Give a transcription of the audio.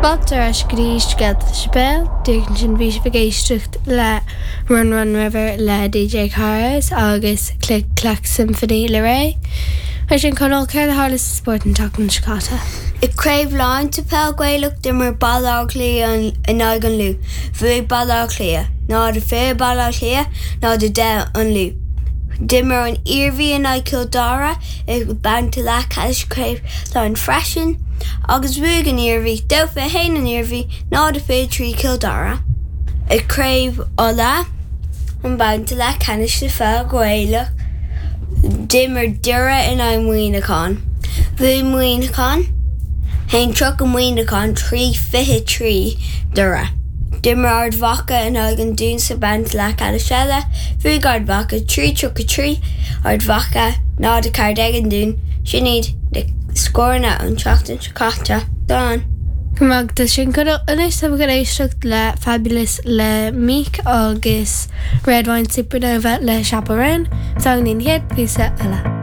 Fáilte ar ais go dtí Scéalta sa Séipéal. Díreach ansin bhí sibh ag éisteacht le Run Run River le DJ Karez agus Click Clack Symphony le Ré. Mar sin Conall, céard a tharla sa spórt an tseachtain seo caite? I gCraobh Laighean sa Peil Ghaelach d'imir Baile Átha Cliath in aghaidh an Lú. Bhuaigh Baile Átha Cliath, 0-20 Baile Átha Cliath, 0-10 an Lú. D'imir an Iarmhí in aghaidh Chill Dara i mbabhta leathcheannais Chraobh Laighean freisin agus bhuaigh an Iarmhí, 2-21 an Iarmhí, 0-23 Cill Dara. I gCraobh Uladh, an babhta leathcheannais sa pheil Ghaelach, d'imir Doire in aghaidh Muineacháin. Bhuaigh Muineachán, 1-30 Muineachán, 3-23 Doire. D'imir Ard Mhacha in aghaidh an Dúin sa bhabhta leathcheannais eile. Bhuaigh Ard Mhacha 3-33 Ard Mhacha, 0-14 an Dún. Sin iad na scóranna ón tseachtain seo caite. Slán. Go raibh maith agat sin Conall. Anois táimid chun éisteacht le Fabulous le Meek agus Red Wine Supernova le Chappell Roan. Slán go dtí an chéad phíosa eile.